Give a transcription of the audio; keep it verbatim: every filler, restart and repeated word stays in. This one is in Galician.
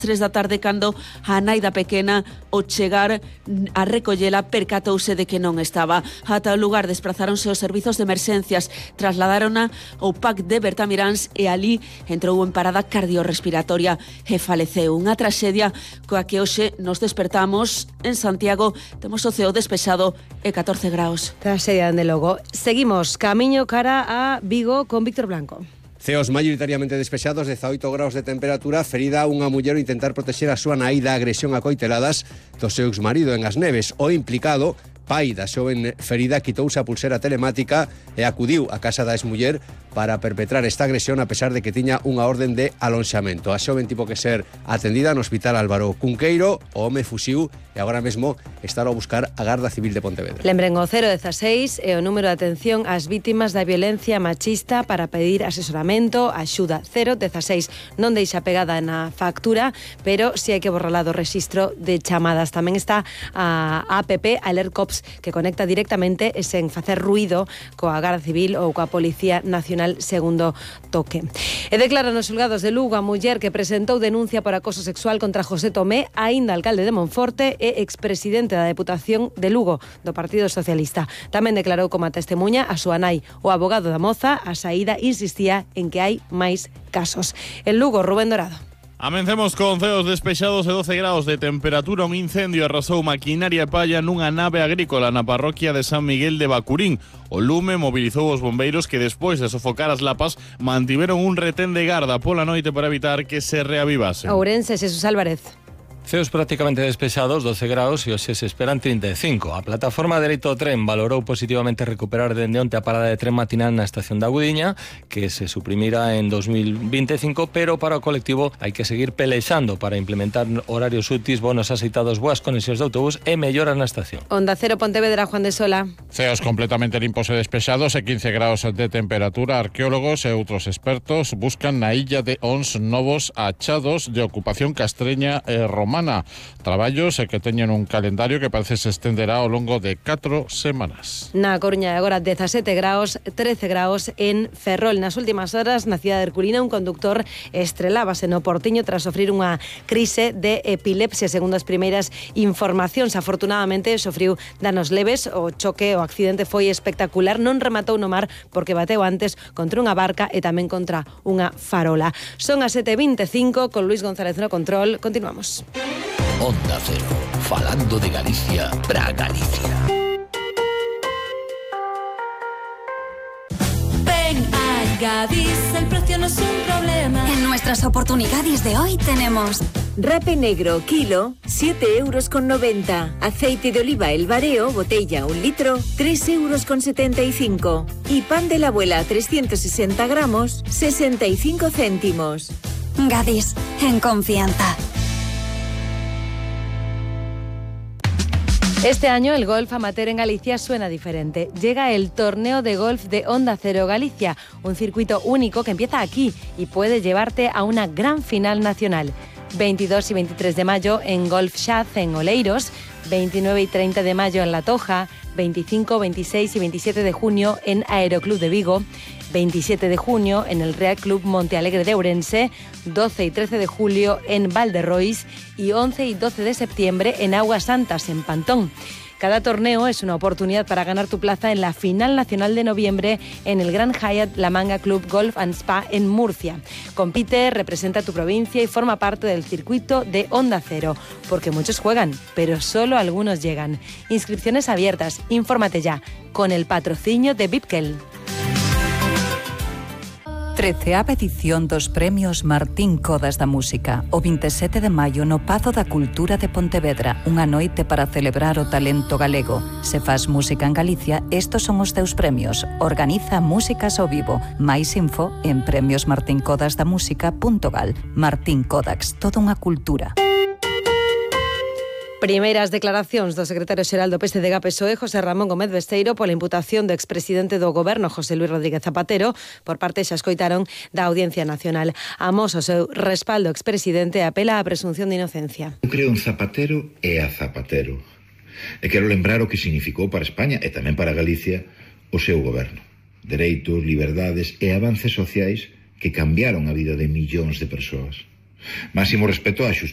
tres da tarde cando a nai da pequena ao chegar a recollela percatouse de que non estaba. Ata o lugar desprazáronse os servizos de emerxencias, trasladárona ao P A C de Bertamiráns e ali entrou en parada cardiorrespiratoria e faleceu. Unha traxedia coa que hoxe nos despertamos en Santiago. Temos o ceo despexado e catorce graus. Traxedia, dende logo. Seguimos camiño cara a Vigo con Víctor Blanco. Ceos maioritariamente despexados, dezaoito graus de temperatura, ferida unha muller ao intentar protexer a súa nai da agresión a coiteladas do seu exmarido en As Neves. O implicado, pai da xoven ferida, quitouse a pulsera telemática e acudiu á casa da exmuller para perpetrar esta agresión a pesar de que tiña unha orden de alonxamento. A xoven tivo que ser atendida no Hospital Álvaro Cunqueiro, o home fuxiu e agora mesmo está a buscar a Garda Civil de Pontevedra. Lembren o cero dezaseis e o número de atención ás vítimas da violencia machista para pedir asesoramento, axuda. Cero dezaseis. Non deixa pegada na factura, pero si hai que borrala do rexistro de chamadas. Tamén está a app Alert Cops, que conecta directamente e sen facer ruido coa Garda Civil ou coa Policía Nacional segundo toque. E declaran os xulgados de Lugo a muller que presentou denuncia por acoso sexual contra José Tomé, aínda alcalde de Monforte e expresidente da Deputación de Lugo do Partido Socialista. Tamén declarou como testemuña a súa nai. O abogado da moza, a saída, insistía en que hai máis casos. En Lugo, Rubén Dorado. Amencemos con ceos despexados e doce graus de temperatura. Un incendio arrasou maquinaria e palla nunha nave agrícola na parroquia de San Miguel de Bacurín. O lume mobilizou os bombeiros que despois de sofocar as lapas mantiveron un retén de garda pola noite para evitar que se reavivase. Ourense, Jesús Álvarez. Ceos prácticamente despexados, doce graus, e hoxe se esperan trinta e cinco. A plataforma Dereito ao Tren valorou positivamente recuperar dende onte a parada de tren matinal na estación da Gudiña, que se suprimira en dos mil vinte e cinco, pero para o colectivo hai que seguir pelexando para implementar horarios úteis, bonos aceitados, boas conexións de autobús e melloras na estación. Onda Cero Pontevedra, Juan de Sola. Ceos completamente limpos e despexados e quince graus de temperatura. Arqueólogos e outros expertos buscan na illa de Ons novos achados de ocupación castreña e romana. Traballos e que teñen un calendario que parece se estenderá ao longo de catro semanas. Na Coruña agora dezasete graus, trece graus en Ferrol. Nas últimas horas, na cidade de Herculina, un conductor estrelábase no Portiño tras sofrir unha crise de epilepsia, segundo as primeiras informacións. Afortunadamente, sofriu danos leves. O choque, o accidente foi espectacular. Non rematou no mar porque bateu antes contra unha barca e tamén contra unha farola. Son as sete e vinte e cinco, con Luis González no control. Continuamos. Onda Cero, falando de Galicia para Galicia. Ven a Gadis, el precio no es un problema. En nuestras oportunidades de hoy tenemos rape negro, kilo, siete euros con noventa. Aceite de oliva El Bareo, botella, un litro, tres euros con setenta y cinco. Y pan de la abuela, trescientos sesenta gramos, sesenta y cinco céntimos. Gadis, en confianza. Este año el golf amateur en Galicia suena diferente. Llega el torneo de golf de Onda Cero Galicia, un circuito único que empieza aquí y puede llevarte a una gran final nacional. veintidós y veintitrés de mayo en Golf Shaz en Oleiros, veintinueve y treinta de mayo en La Toja, veinticinco, veintiséis y veintisiete de junio en Aeroclub de Vigo, veintisiete de junio en el Real Club Monte Alegre de Ourense, doce y trece de julio en Valderrois y once y doce de septiembre en Aguas Santas, en Pantón. Cada torneo es una oportunidad para ganar tu plaza en la final nacional de noviembre en el Gran Hyatt La Manga Club Golf and Spa en Murcia. Compite, representa tu provincia y forma parte del circuito de Onda Cero, porque muchos juegan, pero solo algunos llegan. Inscripciones abiertas, infórmate ya, con el patrocinio de Bipkel. treceava edición dos Premios Martín Codas da Música, o vinte e sete de maio no Pazo da Cultura de Pontevedra, unha noite para celebrar o talento galego. Se faz música en Galicia, estos son os teus premios. Organiza Músicas ao Vivo. Mais info en premios martín codas da música punto gal. Martín Codax, toda unha cultura. Primeiras declaracións do secretario xeral do P S D G P S O E, José Ramón Gómez Besteiro, pola imputación do expresidente do Goberno, José Luis Rodríguez Zapatero. Por parte, xa escoitaron, da Audiencia Nacional. Amosa o seu respaldo ao expresidente e apela á presunción de inocencia. Eu creo en Zapatero e a Zapatero. E quero lembrar o que significou para España e tamén para Galicia o seu goberno. Dereitos, liberdades e avances sociais que cambiaron a vida de millóns de persoas. Máximo respeto á xustiza